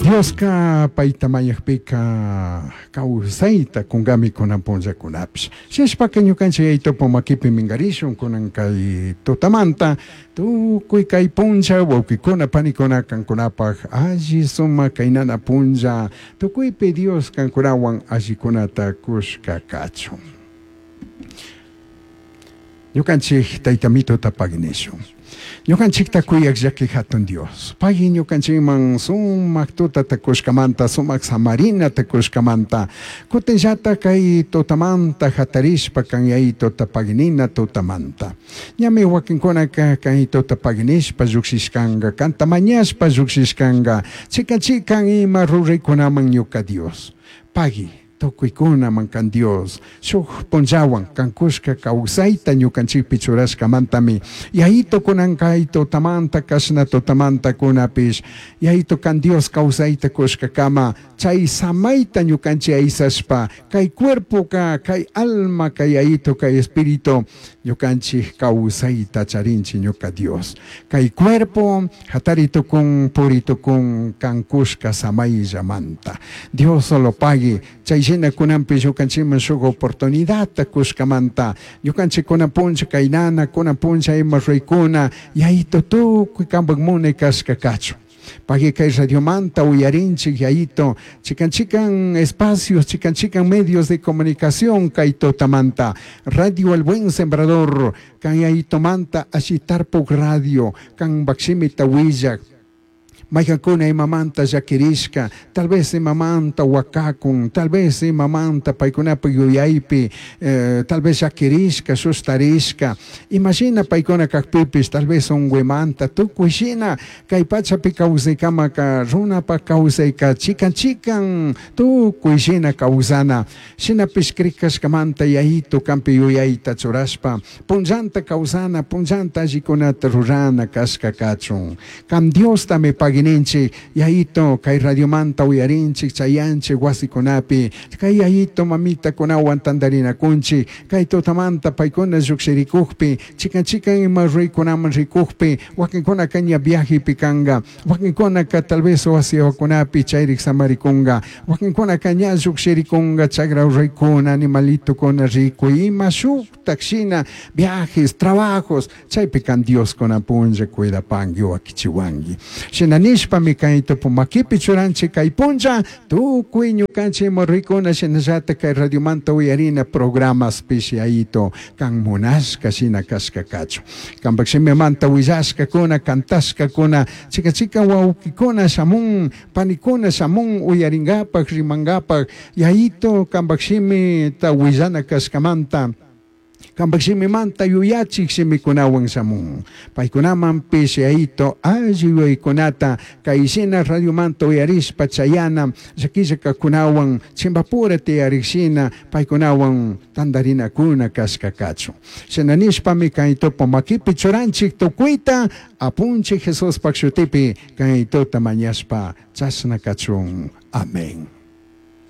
Dioska payta mañakpika kawsayta kunkami kunan punllakunapish. Shinashpaka ñukanchik yayitupa makipi minkarishun kunan kay tutamanta tukuy kay punlla wawkikuna panikuna kankunapak alli sumak kaynana punlla tukuypi Dios kankunawan allikunata kushka kachun. Ñukanchik tayta mituta paginishun. Ñukanchikta kuyak llaki hatun Dios. Pagui ñukanchikman sumak tutata kushkamanta, sumak samarinata kushkamanta. Kutinllata kay tutamanta hatarishpa kan yayituta paginina tutamanta. Ñami wakinkunaka kay tuta paginishpa llukshishkanka, kanta mañashpa llukshishkanka. Chikan chikan ima ruraykunaman ñuka Dios. Pagui tukuykunaman kan Dios. Shuk punllawan kankushka kawsayta ñukanchikpi churashkamantami yayito kunan kay tutamanta kashna tutamanta kunapish yayito kan Dios kawsayta kushkakama chay samayta ñukanchik aysashpa kay cuerpoka kay alma kay yayito kay espíritu ñukanchik kawsayta charinchik ñuka Dios. Kay cuerpo hatari tukun puri tukun kankushka samayllamanta. Dios solo pagui chay shina kunanpi ñukanchikman shuk oportunidadta kushkamanta ñukanchik kunan punlla kaynana kunan punlla ima ruraykuna yayito tukuy kanpak munay kashka kachun. Pagui kay radiomanta uyarinchik yayito chikan chikan espacios chikan chikan medios de comunicación kay tutamanta Radio El Buen Sembrador kan yayitomanta ashitarpuk radio kan bakshimita willak maykankuna imamanta llakirishka tal vez imamanta wakakun tal vez imamanta paykunapak yuyaypi tal vez llakirishka sustarishka imashina paykuna kakpipish tal vez unkuymanta tukuy shina kay pachapi kawsaykamaka runapak kawsayka chikan chikan tukuy shina kawsana shinapish krikashkamanta yayito kanpi yuyayta churashpa punllanta kawsana punllanta allikunata rurana kashka kachun kan Diostami pagininchik yayito kay radiomanta uyarinchik chayanchik wasikunapi kay yayito mamitakunawan tantarinakunchik kay tutamanta paykuna llukshirikukpi chikan chikan ima ruraykunaman rikukpi wakinkunaka ña viajepi kanka wakinkunaka tal vez wasiwakunapi chayrik samarikunka wakinkunaka ña llukshirikunka chagra ruraykuna animalitokuna rikuy ima shuktak shina viajes trabajos chaypi kan Dios kunan punlla cuidapanki wakichiwanki shina nishpami kay tupu makipi churanchik kay punlla tukuy ñukanchik ima ruraykuna shinallata kay radiomanta uyarina programas pish yayito kan munashka shina kashka kachun kanpak shimimanta willashkakuna kantashkakuna chika chikan wawkikuna shamun panikuna shamun uyarinkapak rimankapak yayito kanpak shimita willana kashkamanta kanpak shimimanta yuyachik shimikunawan shamun paykunamanpish yayito alli yuyaykunata kay shina radiomanta uyarishpa chayana llakilla kajkunawan chimpapura tiyarik shina paykunawan tantarinakuna kashka kachun shina nishpami kay tupu makipi churanchik tukuyta apunchik Jesuspak shutipi kay tuta mañashpa chashna kachun. Amén.